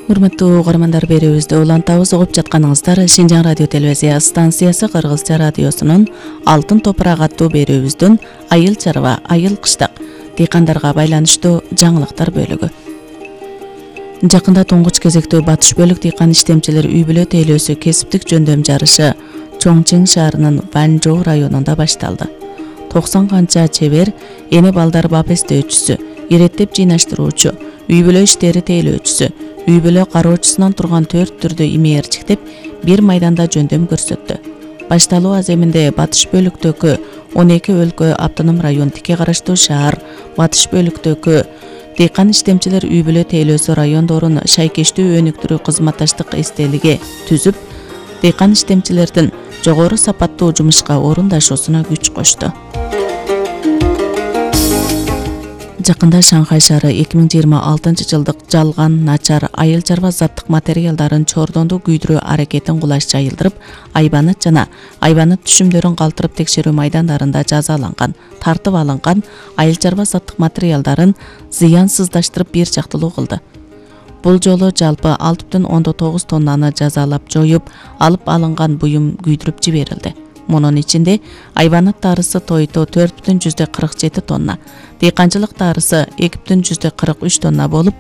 Урматтуу угармандар, берүүбүздү улантабыз. Угуп жатканыңыздар Шинжаң радио телевизия станциясы Кыргызча радиосунун Алтын топурак аттуу берүүбүздүн Айыл чарба, айыл кыштак дыйкандарга байланыштуу жаңылыктар бөлүгү. Жакында туңгуч кезектүү батыш бөлүк дыйкан иштемчилер үй бүлө тейлөөсү кесиптик жөндөм жарышы Чоңчиң шаарынын Ванжоу районунда башталды. 90 канча чебер, эне балдар бап эстөөчүсү, иреттеп жыйнаштыруучу, үй бүлө иштери тейлөөчүсү, үй бүлө кароочусунан турган 4 түрдүү имээрчиктеп бир майданда жөндөм көрсөттү. Башталуу аземинде батыш бөлүктөгү 12 өлкө автоном район тике караштуу шаар, батыш бөлүктөгү дыйкан иштемчилер үй бүлө тейлөөсү райондорун шайкештүү өнүктүрүү кызматташтык эстелиги түзүп, дыйкан иштемчилердин жогору сапаттуу жумушка орундашуусуна күч кошту. Жакында Шанхай шаары 2026 жылдык жалган, начар айыл чарба заттык материалдарын чордондуу күйдүрүү аракетин кулаш жайылдырып, айбанат жана айбанат түшүмдөрүн калтырып текшерүү майдандарында жазаланган, тартып алынган айыл чарба заттык материалдарын зыянсыздаштырып бир жактылуу кылды. Бул жолу жалпы 6,9 тоннаны жазалап жоюп, алып алынган буюм күйдүрүп жиберилди. Мунун ичинде айбанат тарысы тойто 4,47 тонна, дыйканчылык тарысы 2,43 тонна болуп,